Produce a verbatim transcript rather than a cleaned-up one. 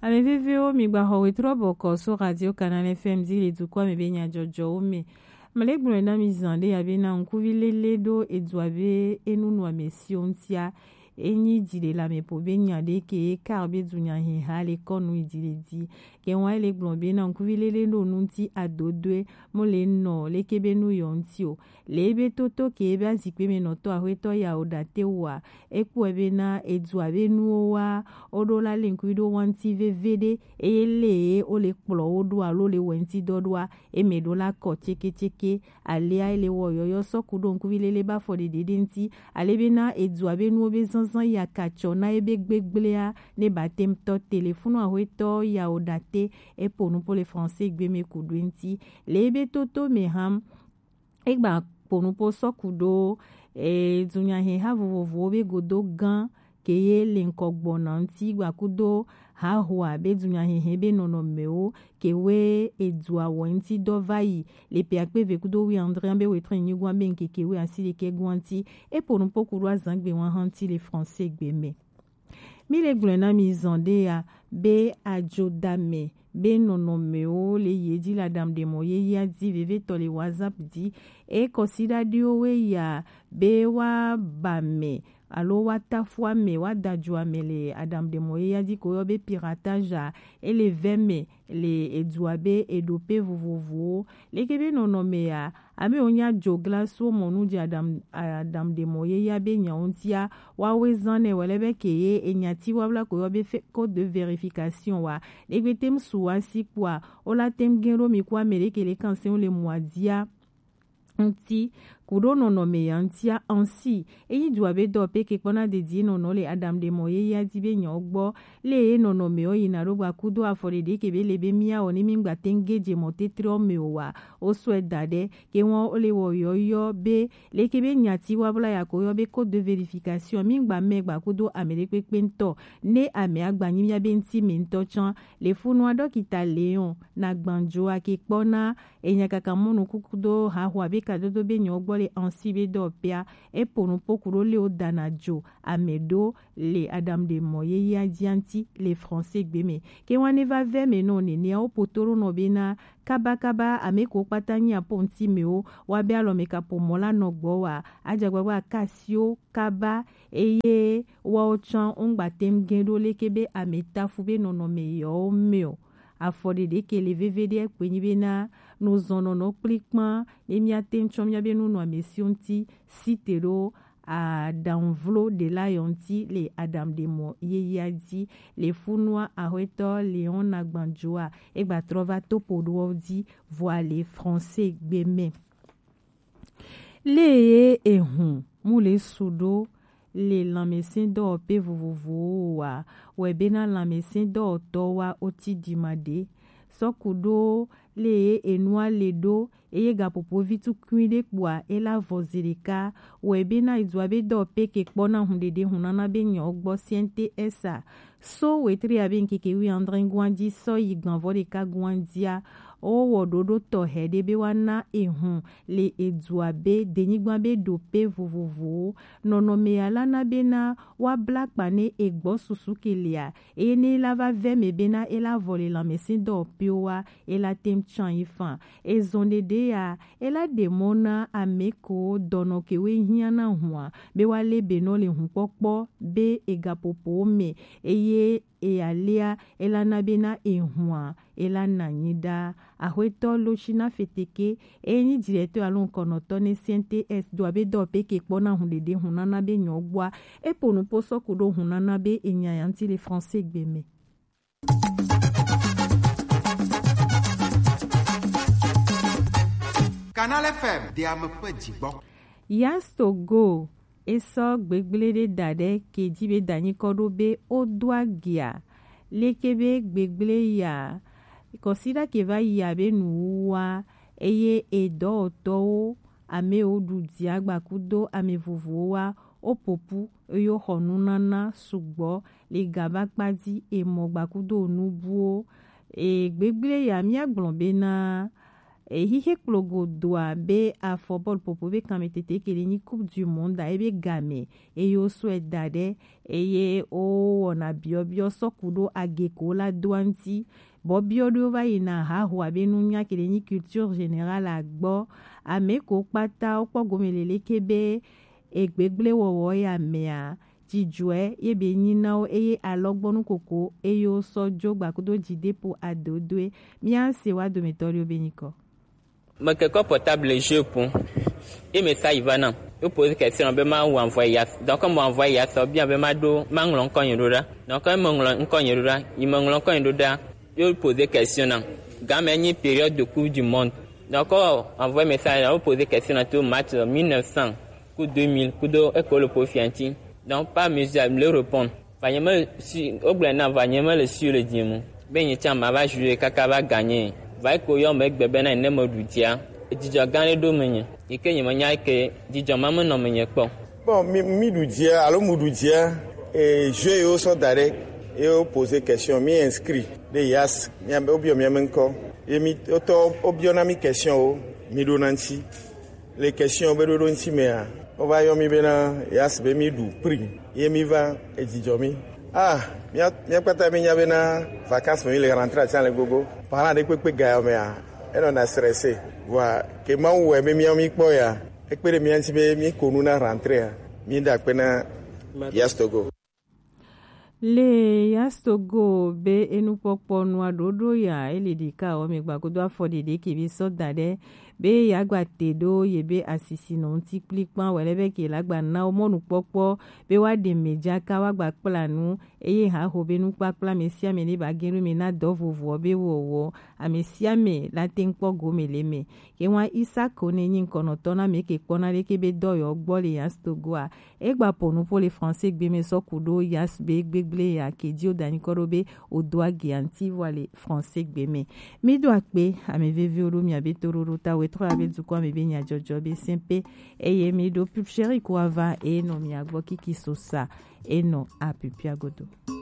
Ame vevewo, mi gba xɔ wetrɔ bɔkɔ so Radio Canal F M di le dukɔ me be nyajɔjɔwo me. Mele gblɔe na mi zan ɖe ya be na ŋkuvi lele ɖo edua be enu nu ame siwo ŋutia. Enyi dzi le lame po be nya ɖe ke ye kar be dunya he ha le kɔ nu yi dzi le di. Ke wa le gblɔ be na ŋkuvi lele ɖo nu ŋuti adodoe mo le nɔ leke be nu yɔ ŋuti o. Le ebe toto ke ebe azikpe me nɔtɔ axwetɔ ya o ɖate wa. Ekpɔe be na edua be nuwo wa, o ɖo la le ŋkui ɖo wa ŋuti veve ɖe, eye le ye o le kplɔ wo ɖo alo le wɛ ŋuti dɔ ɖoa, eme ɖo la kɔ tseke tseke. Alea ele wɔ yɔyɔ sɔ ku ɖo ŋkuvi lele ba fɔ ɖeɖe ɖe ŋuti. Ale be na edua be nuwo be zanzan ya ka tsɔ na ebe gbegblea, ne ba tem tɔ telefonu axwetɔ ya o ɖate, epo nu po le français gbe me ku ɖo ŋuti. Le ebe toto me ham, egba kponu po sɔ ku ɖo, e, dunyaheha vovovowo be godo gã ke ye le ŋkɔ gbɔna ŋuti gba kudo hahoa be dunyahehe be nɔnɔmewo ke we edua wɔ ŋuti dɔ va yi le pe akpe ve kudo wi andre be wetrɛ nyigua be ŋkeke we asi ɖekɛ gua ŋuti. Epo nu po ku ɖo azangbe wa hã ŋuti le français gbe me. Mi le gblɔe na mi zɔn ɖe ya be adzodame be nɔnɔmewo le ye dzi le aɖaŋuɖemɔ yeyea dzi vevetɔ le WhatsApp dzi. Eye kɔsiɖaɖiwo we ya be wa ba me alo wa tafu ame, wa da dzo ame le aɖaŋuɖemɔ yeyea dzi ko yɔ be piratage a, ele vɛ me le edua be eɖope vovovowo. Leke be nɔnɔme ya, ame wo nya dzo glaso mɔ nu dzi aɖaŋu, aɖaŋuɖemɔ yeyea be nyawo ŋutia, wa we zan nɛ wɛlɛ be ke ye enyati wa bla ko yɔ be fe-, code de vérification wa. Ɖegbe tem su wa si kpɔa, o la tem gen ɖo mi ku ame ɖe ke le kan se wo le mua dzia ŋuti, ku ɖo nɔnɔme ya ŋutia ansi. Eyi dua be dɔ pe ke kpɔna dedie nɔnɔ le aɖaŋuɖemɔ yeyea dzi be nyawo gbɔ, le ye nɔnɔme wo yina ɖo gba kudo afɔ ɖeɖe ke be le be mia wɔ ne mi gba tem ge dze mɔ tetre wo me o wa, o sɔe da ɖe. Ke ŋua o le wɔ yɔyɔ be leke be nyati wa bla ya ko yɔ be code de vérification mi gba mɛ gba kudo ame ɖe kpekpe ŋutɔ, ne ame agba nyi mia be ŋuti me ŋutɔ tsã. Le funua ɖɔkita Leon na gbanjoa ke kpɔna enya kaka mɔnu kuku do haho abe kadodo be nyɔ gbɔ le ansi be dɔ pea, epo nu poku ɖo le wo dana dzo ame ɖo le aɖaŋuɖemɔ yeyea dzia ŋuti le français gbe me. Ke ŋua ne va vɛ me nɔ nenea, wo poto ɖo nɔ be na kabakaba ame ko kpata nyi apo ŋuti me wo, wa be alɔ me kapo mɔ la nɔ gbɔ wa, adzagbagba ka si wo kaba, eye woawo tsã wongba tem ge ɖo leke be ame tafu be nɔnɔme yewo me o. Afɔ ɖeɖe ke le veve ɖe kpe nyi be na nuzɔnɔnɔ kplikpan ne míate ŋu tsɔ míabe nunɔamesiwo ŋuti si te ɖo aɖaŋuvlo ɖela yɔ ŋuti le aɖaŋuɖemɔ yeyea dzi. Le funua ahwetɔ Leon Nagbanjoa egbatrɔ va topo ɖowo dzi vɔa le français gbe me. Le ye ehun mu le su ɖo le lanmɛsɛndɔwɔƒe vovovowo wa, wɛ bena lanmɛsɛndɔwɔtɔwo wa oti dima ɖe. Sɔku ɖo le ye enua le ɖo eye gaƒoƒo vi tukui ɖe kpoa ela vɔ zi ɖeka. Wɛ bena idua be dɔwɔƒe ke kpɔna hun ɖeɖe hun nana be nyɔ gbɔ C N T S a. So wetri abe ŋkeke wi andre gua dzi sɔ yi gbanvɔ ɖeka gua dzia, wowɔ ɖoɖo tɔxɛ ɖe be woana ehun le edua be denyigba be ɖoƒe vovovowo. Nɔnɔme ya la na bena woabla kpa ne egbɔ susu ke lia, eye ne la va vɛ me bena ela vɔ le lanmɛsɛndɔwɔƒewo wa, ela tem tsan yi fan. Ezɔn ɖeɖe ya, ela ɖe mɔ na ame ko dɔnɔ ke we hiã na hua be woalé be nɔ le hukpɔkpɔ be egaƒoƒowo me, eye eya léa, ela na be na ehua, ela na nyi ɖa. Axwetɔ Loshina Feteke, eye nyi directeur alo ŋkɔnɔtɔ ne C N T S do abe dɔ pe ke kpɔ na hun ɖeɖe hun nana be nyɔ gbɔa, epo nu po sɔ ku ɖo hun nana be enya ya ŋuti le français gbe me. Canal F M de ame ƒe dzigbɔ. Yas Togo, esɔ gbegblẽ ɖe da ɖe ke dzi be da nyikɔ ɖo be wodo agia. Leke be gbegblẽ ya, kɔsiɖa ke va yi abe nuwuwua, eye edɔwɔtɔwo, amewo ɖu dzia gbakudo ame vovovowo wa, woƒoƒu, eye woxɔ nunana sugbɔ le gabakpa dzi, emɔ gbakudo nubuwo. E, gbegblẽ ya, míagblɔ bena, Ehihe kplogo doa be afɔ bɔlu popo be kanmɛ tete kele nyi Coupe du Monde a ebe game eye wo sɔe da ɖe eye wo wɔna biɔbiɔ sɔku ɖo ageko la doa ŋuti. Bɔ biɔ ɖo va yina haho abe nunya kele nyi culture générale agbɔ. Ame ko kpata wo kpɔ gome lele ke be egbegble wɔwɔ ya mea, dzidzɔe ye be nyi na wo eye alɔgbɔnu koko eye wo sɔ jo gbakudo dzideƒo adodoe. Mía se wa dometɔ ɖewo be nyikɔ. Mekekɔ portable jeu ƒom. Ye me sa yi va nam. Yo pose question be ma wo envoyer yas. Donc comme envoyer yas, bien be ma do ma ŋlɔ ŋkɔ nye ɖo ɖa. Donc comme me ŋlɔ ŋkɔ nye ɖo ɖa, yi me ŋlɔ ŋkɔ nye ɖo ɖa. Yo pose question nam. Game nyi période de Coupe du Monde. Donc envoyer message, yo pose question nam to match mille neuf cents ku deux mille kudo eko le po fianti. Donc par mesure le répondre. Va nye me si o gblɔ na va nye me le si le dzi mu. Be nye tsa ma va jouer kaka va gagner. Va ko yo me gbe be na ne me ɖu dzia. Dzidzɔ gã ɖe ɖo menye. Yi ke nye menya ke dzidzɔ ma menɔ menye kpɔ. Bon, mi, mi ɖu dzia alo mu ɖu dzia, e, jeu yewo sɔ da ɖe, ye wo poser question, mi inscrit ɖe yas, mia be wobiɔ mia me ŋkɔ, ye mi wotɔ wobiɔ na mi question wo, mi ɖo na ŋuti. Le question be ɖoɖo ŋuti mea, wova yɔ mi bena yas be mi ɖu prix, ye mi va edzidzɔ mi. Ah, mia, mia kpata mi nya bena vacances me mi le rentrée atsa le gogo. Parent ɖe kpekpe ga yɔ mea, enɔna stressé. Vɔa ke Mawu wɔe be míawo míkpɔ ya, ekpe ɖe mía ŋuti be míko nu na rentrée ya. Míɖe akpe na Yas Togo. Le Yas Togo be enukpɔkpɔ nua ɖoɖo ya ele ɖeka wɔ me gbagodo afɔ ɖeɖe ke be sɔ da ɖe be yeagba te ɖo ye be asisi nɔ ŋuti kplikpan wɛ lɛ be ke la gba na wo mɔnukpɔkpɔ be woaɖe mɛ dzaka woagba kpla nu eye haho be nukpakpla ame sia ame ne ba ge ɖo me na dɔ vovoɔ be wɔwɔ. Ame sia ame la te ŋu kpɔ gome le eme. Ke ŋua Isaac ne nyi ŋkɔnɔtɔ na ame ke kpɔna ɖeke be dɔyɔ gbɔ le Yas Togoa. Egba po nuƒo le français gbe me sɔ ku ɖo Yas be gbegble ya ke dzi wo da nyikɔ ɖo be o do agi anti vɔ le français gbe me. Mi do akpe ame veviwo ɖo mia be toɖoɖo ta wetro ya be dukɔ ame be nyadzɔdzɔ be sɛnpe. Eye mi ɖo pub chéri ko ava e nɔ mia gbɔ kiki sosa e nɔ apipia godo.